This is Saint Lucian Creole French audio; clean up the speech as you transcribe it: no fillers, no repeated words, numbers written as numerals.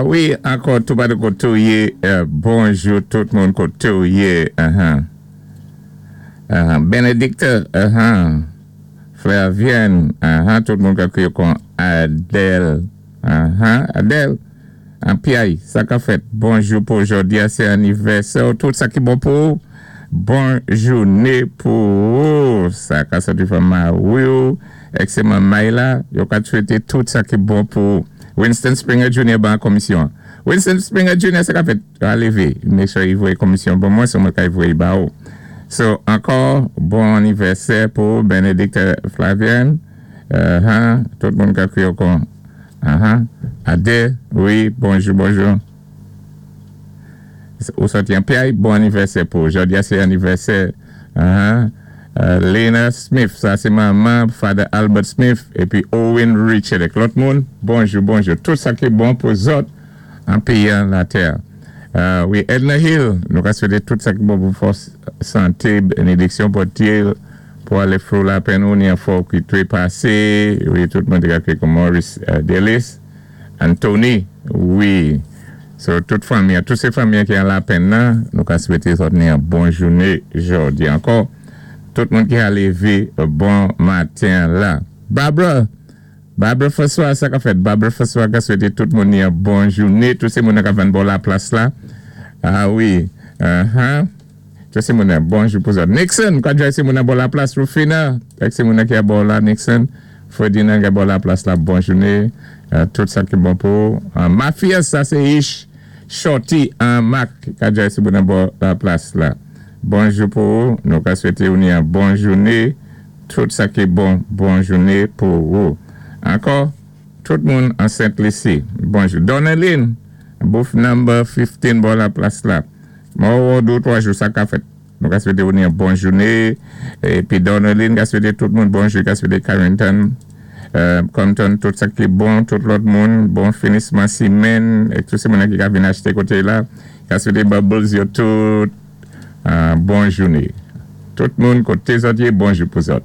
Wi, ankò tou pa koté ou yé, bonjou tout moun koté ou yé. Benedicte, Flavienne, tout moun ka kwiyé kon Adèle, Adèle, an Piyay, sa ka fèt, bonjou pou jòdi a, sé anivèsè, tout sa ki bon pou ou, bon jouné pou ou, sa ka sòti fanm mari ou, èk sé manmay la, yo ka swété tout sa ki bon pou ou. Winston Springer Jr. Ban komisyon. Winston Springer Jr. Sa ka fèt, a lévé, make sure i voyé komisyon ban mwen, so mwen ka i voyé ba ou. So, ankò, bon anivèsè pou Benedicte Flavienne, tout moun ka kwiyé kon, Ade, wi, bonjou, bonjou. Ou sòti an Piyay, bon anivèsè pou jòdi a, sé anivèsè, Lena Smith, sa sé manman Father Albert Smith, épi Owen Richard, èk lòt moun, bonjou, bonjou. Tout sa ki bon pou zòt an péyi an latè. Wi, Edna Hill, nou ka swété tout sa ki bon pou fòs, santé, bénédiksyon Bondyé, pou alé through lapenn ou ni an fò ki twépasé. Wi, tout moun té ka kwiyé kon Maurice Delis, Anthony, wi. So, tout fanmi, tout sé fanmi ki an lapenn nan, nou ka swété zòt ni an bon jouné jòdi ankò. Tout moun ki a lévé bon maten la. Barbara, Barbara François, sa ka fèt. Barbara François ka swété tout moun ni an bon jouné. Tout sé moun ka vann bò la plas la. Ah wi. Tout sé moun bonjou pou zòt. Nixon, ka djay sé moun bò la plas. Rufina, èk sé moun ki a bò la Nixon. Ferdinand ki bò la plas la, bon jouné. Tout sa ki bon pou. Mafia, sa sé Ish Shorty an Mac ka djay sé moun bò la plas la. Bonjou pou ou. Nou ka swété ou ni an bon jouné. Tout sa ki bon, bon jouné pou ou. Ankò, tout moun an Saint Lucie. Bonjou. Doneline, booth number 15 bò la plas la. Mò, 2 ou 3 jou sa ka fèt. Nou ka swété ou ni an bon jouné. Épi Doneline ka swété tout moun bonjou, ka swété Carrington, Compton, tout sa ki bon, tout lòt moun, bon finisman simenn, é tout sé moun ki ka vin achté koté la. Ka swété Bubbles yo tout bon jouné. Tout moun koté zòt yé, bonjou pou zòt.